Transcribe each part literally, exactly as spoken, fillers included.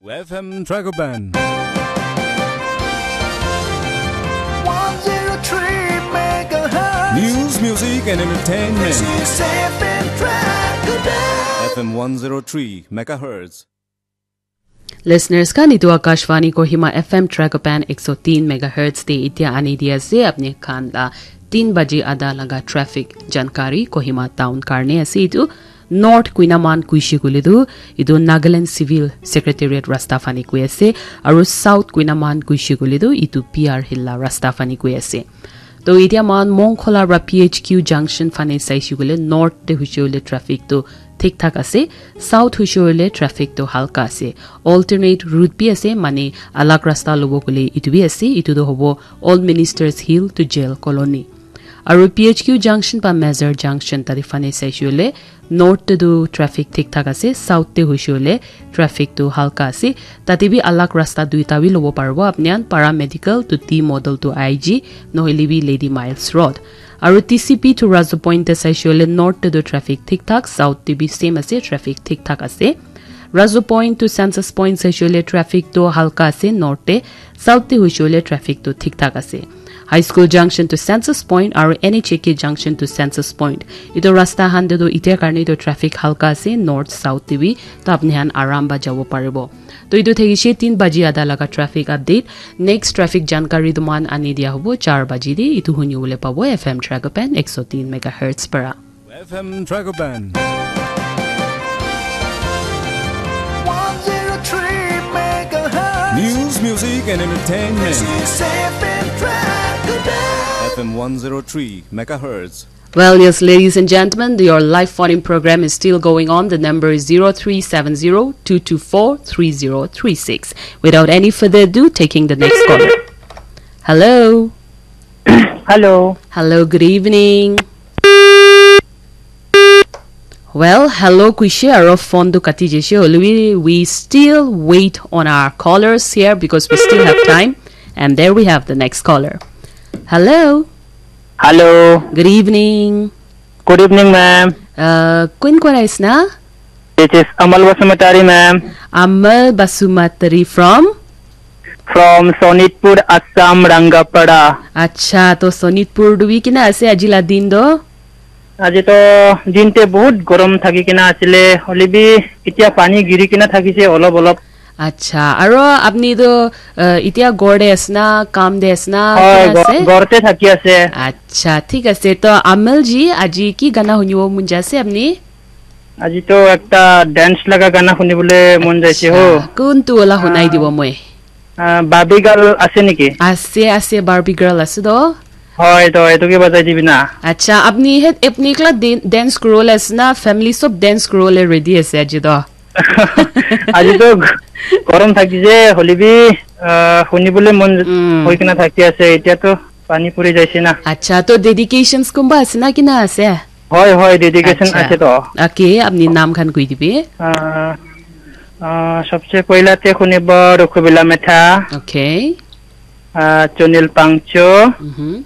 F M Dragoban. one zero three megahertz. News, music, and entertainment. This is F M Dragoban. F M one zero three megahertz. Listeners khan, etu Akashvani Kohima F M Dragoban ek so tin megahertz te itia ani di ase. Apni khan la tin baji ada laga traffic jankari Kohima town karne ase etu. North kuina man kuishi kule tu, etu Nagaland Civil Secretariat rasta fani kui ase, aru South kuina man kuishi kule tu, etu P R Hill la rasta fani kui ase. To itia man Mongkhola ra P H Q junction fani saisi kule, North te hushi hule traffic tu thik thak ase, South hushi hule traffic tu halka ase. Alternate route bi ase, mane alag rasta lobo kule etu bi ase, etu tu hobo Old Ministers Hill to Jail Colony. Aru P H Q junction pa Mazar junction tadi fane saisi hule, North te tu traffic thik thak ase, South te hushi hule traffic tu halka ase. Tate bi alag rasta duita bi lobo paribo apni khan, Para Medical to T Model to I G, nohile bi Lady Miles Road. Aru T C P to Razu Point te saisi hule North te tu traffic thik thak, South te bi same ase, traffic thik thak ase. Razu Point to Census Point saisi hule traffic tu halka ase North te, South te hushi hule traffic tu thik thak ase. High School Junction to Census Point aru N H A K Junction to Census Point. Etu rasta khan te tu itia karne tu traffic halka ase, North South te bi, to apni khan aram pa jabo paribo. To etu thakishe tin baji ada laga traffic update. Next traffic jankari tu moikhan ani dia hobo char baji te. Etu huni bole pabo F M Dragoban ek so tin megahertz para. F M Dragoban. one zero three megahertz. News, music, and entertainment. This is F M Dragoban. F M one zero three megahertz. Well, yes, ladies and gentlemen, your live phone-in program is still going on. The number is zero three seven zero two two four three zero three six. Without any further ado, taking the next caller. Hello. Hello. Hello, good evening. Well, hello, kuishe aro phone tu kati jaishe, hoilebi we still wait on our callers here because we still have time. And there we have the next caller. Hello. Hello. Good evening. Good evening, ma'am. Uh, kun kora isna? This is Amal Basumatary, ma'am. Amal Basumatary from? From Sonitpur, Assam, Rangapada. Acha, to Sonitpur dubi kina ase aji la din do? Aji to din te bahut gorom thaki kina asile, hoilebi itia pani giri kina thakise olop olop. Acha, aro apni to, uh, itia ghor de asna, kam de asna, Hoi, kina go- ase? Ghor te thaki ase. Acha, thik ase. To Amal ji, aji ki gana hunibo mon jaise apni? Aji to ekta dance laga gana hunibole mon jaise ho. Acha, kuntu wala hunai dibo moi? Ah, Barbie girl ase niki? Ase, ase, Barbie girl ase to. Hoi to, etu ke bajai dibi na. Acha, apni het, apni ekla din-, dance kuribole ase na, family sob dance kuribole ready ase aji to? Aji to gorom thakise, hoilebi, ah, hunibole mon Mm. hoi kina thaki ase, etia to pani puri jaise na. Acha, to dedications kunba ase na kina ase? Hoi, hoi, dedication Acha. Ase to. Okay, apni naam khan koi dibi. Ah, ah, sabse pehla te hunibo Rukhubila Metha, Okay. ah, Chunil Pangcho, Mm-hmm.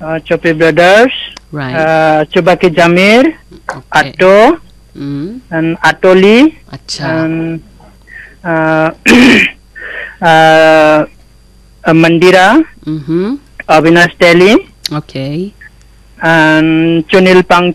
ah, Chopi Brothers, Right. ah, Chubaki Jamir, Okay. Ato, Mm. and Atoli, Acha. and, ah, ah, Mandira, Mm-hmm. Avinash Teli, Okay. and Chunil Pang